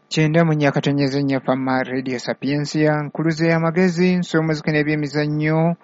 94.4 Fama Radio Sapientia, nkuluze y'amagezi, nsomozike n'ebyemizannyo.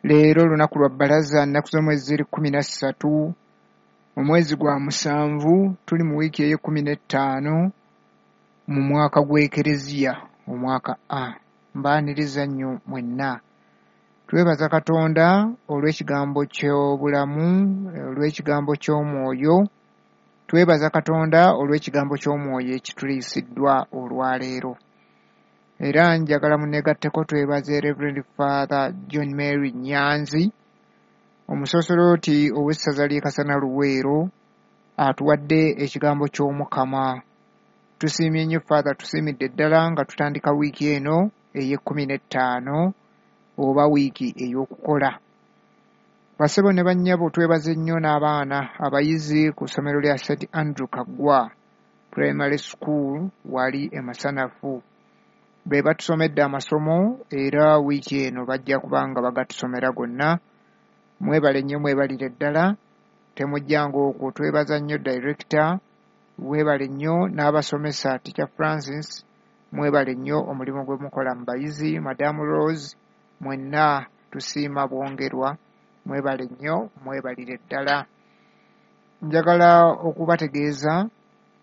Leero lunaku lwa bbalaza, nnaku z'omwezi ziri 13 omwezi gwa 7, tuli mu wiiki ey'e15 mu mwaka gw'Ekereziya, omwaka A. Mbaaniriza nnyo mwenna. Twebaza Katonda olw'ekigambo ky'obulamu, olw'ekigambo ky'omwoyo. Twebaza Katonda olw'ekigambo ky'omwoyo ekituliisiddwa olwaleero. Era njagala munneegatteko twebaze Reverend Father John Mary Nyanzi, omusoosolooti ow'essaza ly'e Kasana Luweero, atuwadde ekigambo ky'Omukama. Tusiimye nnyo Father, tusiimidde ddala nga tutandika wiiki eno ey'e15 oba wiiki ey'okukola. Bassebo ne bannyabo, twebaze nnyo n'abaana abayizi ku ssomero lya St Andrew Kaggwa Primary School wali e Masanafu. Be batusomedde amasomo era wiiki eno bajja kuba nga bagatusomera gonna. Mwebale nnyo, mwebalire ddala, temujjanga okwo. Twebaza nnyo director, weebale nnyo n'abasomesa, Teacher Francis, mwebale nnyo omulimu gwe mukola mu bayizi, Madam Rose, mwenna tusiima bwongerwa, mwebale nnyo, mwebalire ddala. Njagala okubategeeza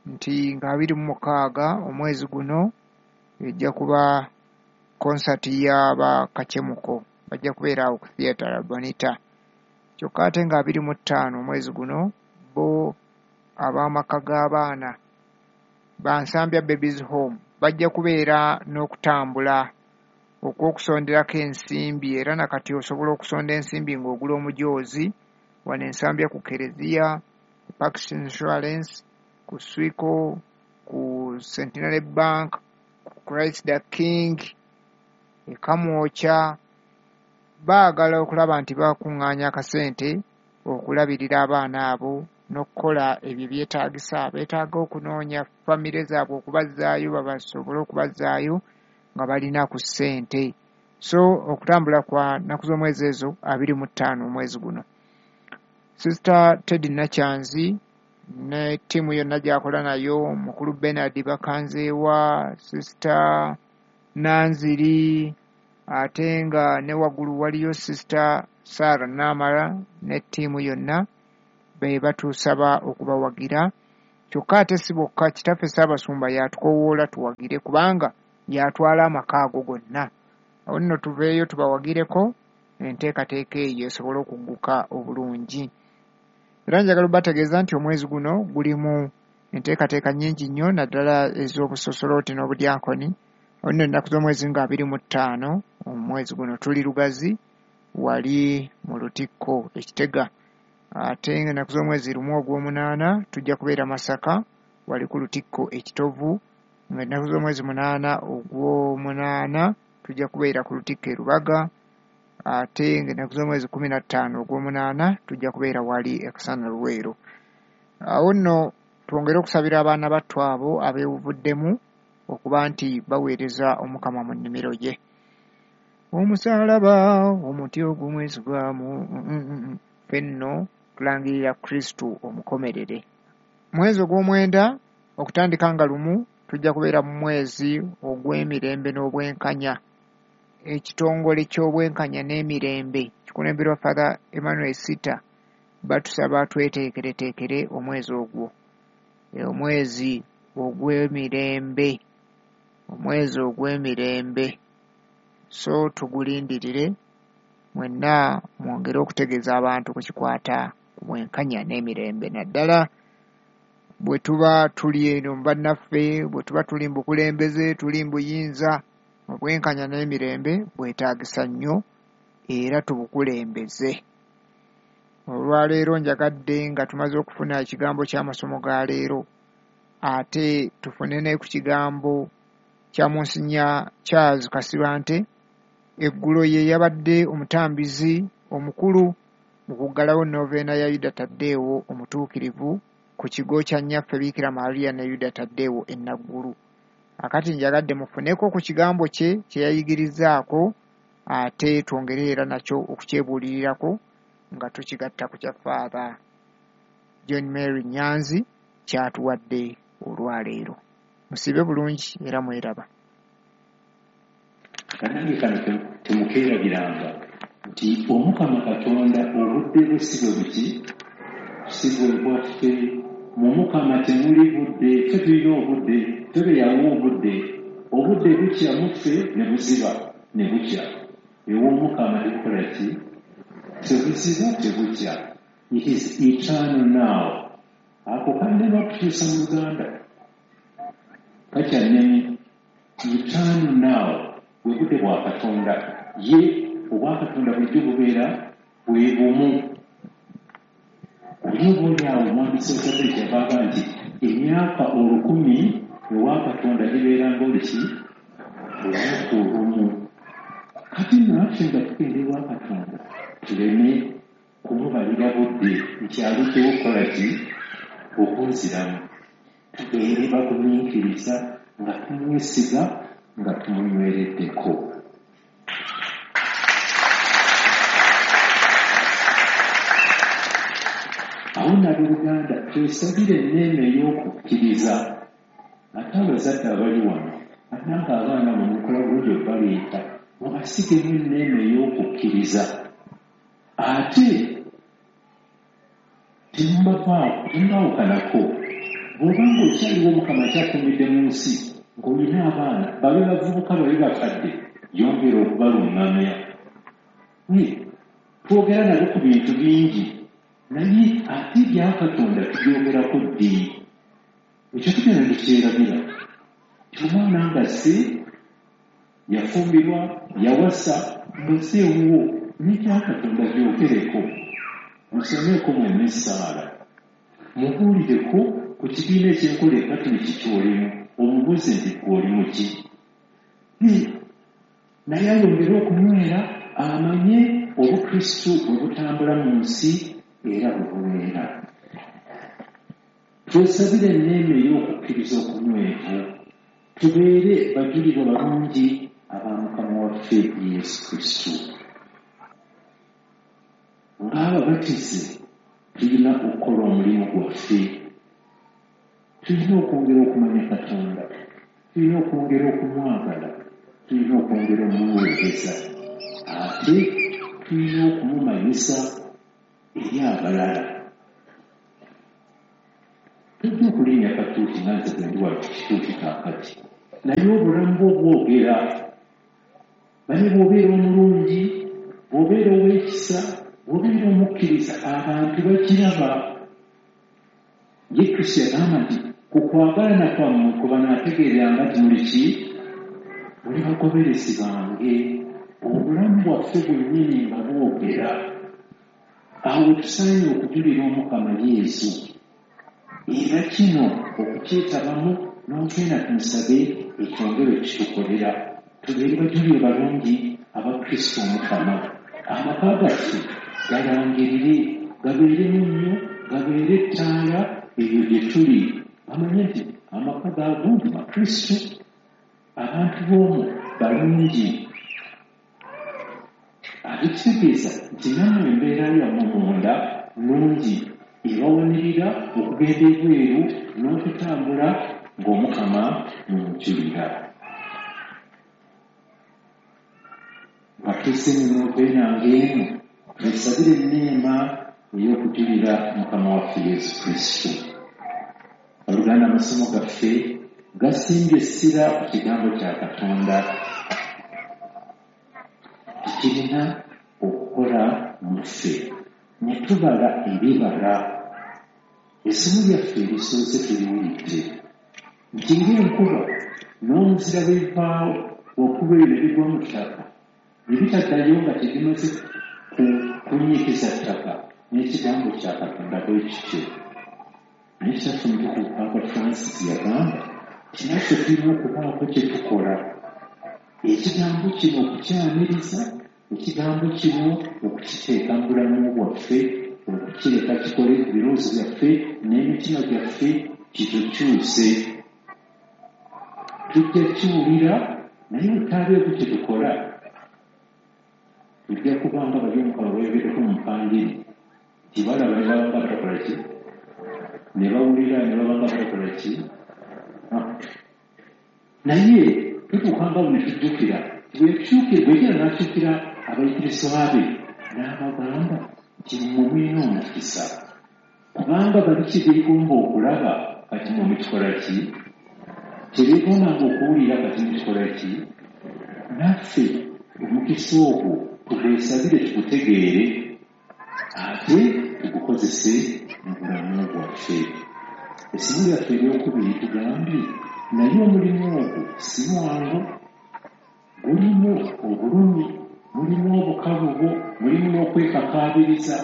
nti nga 26 omwezi guno ejja kuba konsati y'aba Kacemuko, bajja kubeera awo ku Theatre Bonita. Kyokka ate nga 25 omwezi guno bo ab'amaka g'abaana ba Nsambya Babies Home bajja kubeera n'okutambula okw'okusonderako ensimbi, era nakati osobola okusonda ensimbi ng'ogula omujoozi wano Ensambya ku Kereziya, ku Pax Insurance, ku Swico, ku Centenary Bank, ku Christ the King, e Kamwokya. Baagala okulaba nti bakuŋŋaanya akasente okulabirira abaana abo n'okukola ebyo byetaagisa. Beetaaga okunoonya famire zaabwe okubazzaayo, babasobole okubazzaayo nga balina ku ssente. So okutambula kwa nnaku z'omwezi ezo 25 omwezi guno. Sister Teddy Nakyanzi ne ttiimu yonna gy'akola nayo, mukulu Bernard Bakanzeewa, Sister Nanziri, ate nga ne waggulu waliyo Sister Sarah Namara ne ttiimu yonna be batusaba okubawagira. Kyokka ate si bokka, kitaffe Ssaabasumba y'atukowoola tuwagire kubanga y'atwala amaka ago gonna. Awo nno tuveeyo tubawagireko enteekateeka eyo esobole okugguka obulungi. Era njagala obategeeza nti omwezi guno gulimu enteekateeka nnyingi nnyo naddala ez'obusosolooti n'obudyankoni. Awo nno ennaku z'omwezi nga 25 omwezi guno tuli Lugazi wali mu Lutikko e Kitega. Ate ennaku z'omwezi 1 ogw'omunaana tujja kubeera Masaka wali ku Lutikko e Kitovu. Nga ennaku z'omwezi 8 ogw'omunaana tujja kubeera ku Lutikko e Lubaga. Ate ng'ennaku z'omwezi 15 ogw'omunaana tujja kubeera wali e Kasana Luweero. Awo nno twongere okusabira abaana battu abo abeewuvuddemu okuba nti baweereza Omukama mu nnimiro ye. Omusaalaba omuti ogumwesigwamu, ffe nno tulangirira Kristu omukomerere. Mwezi ogw'omwenda okutandika nga 1 tujja kubeera mu mwezi ogw'emirembe n'obwenkanya. Ekitongole ky'obwenkanya n'emirembe kikulemberwa Father Emmanuel Sita, batusaba tweteekereteekere omwezi ogwo, omwezi ogw'emirembe, omwezi ogw'emirembe. So tugulindirire mwenna mwongere okutegeeza abantu ku kikwata ku bwenkanya n'emirembe, naddala bwe tuba tuli eno mu bannaffe, bwe tuba tuli mu bukulembeze, tuli mu buyinza, obwenkanya n'emirembe bwetaagisa nnyo era tubukulembeze. Olwaleero njagadde nga tumaze okufuna ekigambo ky'amasomo ga leero, ate tufune ne ku kigambo kya Monsignor Charles Kasibante. Eggulo ye yabadde omutambizi omukulu mu kuggalawo noveena ya Yuda Taddeewo omutuukirivu ku kigo kya Nnyaffe Biikira Maria ne Yuda Taddeewo e Naggulu. Akati njagadde mufuneko ku kigambo kye kye yayigirizzaako, ate twongere era nakyo okukyebuulirirako nga tukigatta ku kya Father John Mary Nyanzi ky'atuwadde olwaleero. Musiibe bulungi era mweraba. Bannange kano temukeerabiranga nti Omukama Katonda obudde bwe si bwe buki, si bwe bwaffe. Mu Mukama temuli budde, ffe tulina obudde, ffe be yawa obudde. Obudde bukya mu ffe ne buziba ne bukya. Ew'Omukama tebukola ki? Tebuziba, tebukya. It is eternal now. Ako kannema okukyusa mu Luganda. Kakyannemi. Eternal now. Bwe budde bwa Katonda. Ye obwa Katonda bulijjo bubeera bwe bumu. Oli oba oli awo omuwandiisi wa Zabbuli kyava agamba nti emyaka 1000 ewa Katonda gibeera ng'oluki olunaku olumu. Kati nno naffe nga tugenda ewa Katonda tuleme kumubalira budde nti aluddewo okukola ki? Okunziramu. Tubeere bagumiikiriza nga tumwesiga nga tumunywereddeko. Awo nno abooluganda twesabire enneema ey'okukkiriza. Ate abazadde abali wano bannange abaana mwe mukola bulungi okubaleeta mubasigemu enneema ey'okukkiriza. Ate temubaawukanako. Bw'oba ng'okyaliwo Omukama akyakuumidde mu nsi ng'olina abaana babe bavubuka babe bakadde, yongera okubaluŋŋamya. Twogera nabo ku bintu bingi naye ate ebya Katonda tubyogerako ddi? Ekyo tugenda ne tukyerabira. Nti omwana ng'azze, yafumbirwa, yawasa, ng'azze ewuwo, n'ebya Katonda byogereko. Musomeeko mwenna essaala. Mubuulireko ku kibiina eky'enkola Ekatuliki ky'olimu, omubuuze nti ggwe oli mu ki? Naye ayongere okunywera amanye Obukristu bwe butambula mu nsi era bwe bubeera. Twesabire enneema ey'okukkiriza okunywevu, tubeere bajulirwa balungi aba Mukama waffe Yesu Kristo. Ng'ababatize tulina okukola omulimu gwaffe. Tulina okwongera okumanya Katonda, tulina okwongera okumwagala, tulina okwongera okumuweereza, ate tulina okumumanyisa eri abalala. Tojja okulinnya katuuti nga nze bwe ndi wano ku kituuti kaakati, naye obulamu bwo bwogera. Manye bw'obeera omulungi, bw'obeera ow'ekisa, bw'obeera omukkiriza, abantu bakiraba. Ye Kristo yagamba nti ku kwagalana kwammwe kwe banaategeereranga nti muli ki? Muli bagoberezi bange. Obulamu bwaffe bwennyini nga bwogera. Awo we tusaanye okujulira Omukama Yesu. Era kino okukyetabamu n'ogenda tumusabe ekyongere okukitukolera. Tubeere bajulirwa balungi aba Kristo Omukama. Amaka gaffe galangirire, gabeere munnyo, gabeere ettaala eyo gye tuli. Bamanye nti amaka ga gundi Bakristo, abantu b'omwo balungi. Ate kitegeeza nti nammwe embeera yammwe munda nnungi, ebawanirira okugenda ebweru n'okutambula ng'Omukama mumujulira. Nga tuzze mu noveena ng'eno, twesabire enneema ey'okujulira Mukama waffe Yesu Kristo. Abooluganda, amasomo gaffe gasimbye essira ku kigambo kya Katonda. Tekirina okukola mu ffe ne tubala ebibala. Essomo lyaffe erisoose tuliwulidde nti ng'enkuba n'omuzira bwe bivaawo waggulu eyo ne bigwa mu ttaka ne bitaddayo nga tebimaze kunnyikiza ttaka, n'ekigambo kya Katonda bwe kityo. Naye Kitaffe Omutukuvu Paapa Francis yagamba nti naffe tulina okubaako kye tukola. Ekigambo kino okukyaniriza, ekigambo kino okukiteeka mu bulamu bwaffe, okukireka kikole ku birowoozo byaffe n'emitima gyaffe kitukyuse. Tujja kiwulira naye bwe tutaabeeko kye tukola tujja kuba nga bali Omukama bayogeddeko mu mpangiri nti balaba ne baba nga batakola ki, ne bawulira ne baba nga batakola ki. Naye tutuuka nga bwe tujjukira, bwejjira n'akyukira abayigirizwa be n'abagamba nti mmwe mulina omukisa, kubanga bali kye beegomba okulaba kati mmwe mukikola ki? Kye beegombanga okuwulira kati mukikola ki? Naffe omukisa ogwo tugwesabire, tugutegeere, ate tugukozese mu bulamu bwaffe. Essomo lyaffe eryokubiri tugambye naye omulimu ogwo si mwangu, gulimu obulumi, mulimu obukalubo, mulimu n'okwekakaabiriza.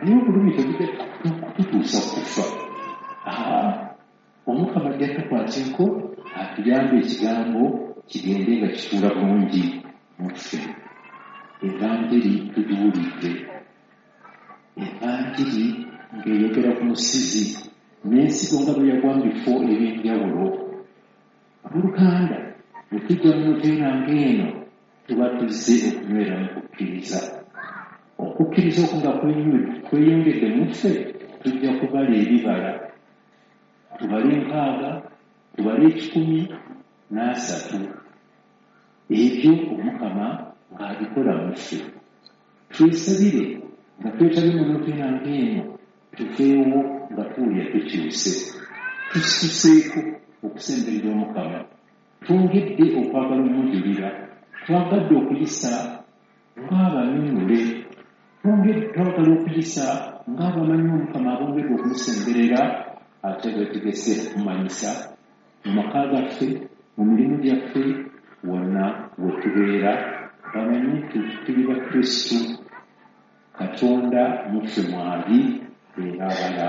Naye obulumi tebujja kututuusa kufa. Omukama ajja tukwateko atuyambe ekigambo kigende nga kituula bulungi mu ffe. Evanjiri tugiwulidde, evanjiri ng'eyogera ku musizi n'ensigo nga bwe yagwa mu bifo eby'enjawulo. Abooluganda, bwe tujja mu nnoveera ng'eno tuba tuzze okunywera mu kukkiriza. Okukkiriza okwo nga kweyongedde mu ffe, tujja kubala ebibala, tubale 60, tubale 130. Ebyo Omukama ng'abikola mu ffe. Twesabire nga twetabye mu nnoveera ng'eno, tuveewo nga tuwulira tukyuse, tusituseeko okusemberera Omukama, twongedde okwagala omujulira, twagadde okuyisa ng'abanunule, twagala okuyisa ng'abamanyi Omukama, abongedde okumusemberera, ate beetegese okumanyisa mu maka gaffe, mu mirimu gyaffe, wonna we tubeera, bamanye nti tuli Bakristu, Katonda mu ffe mwali era abala.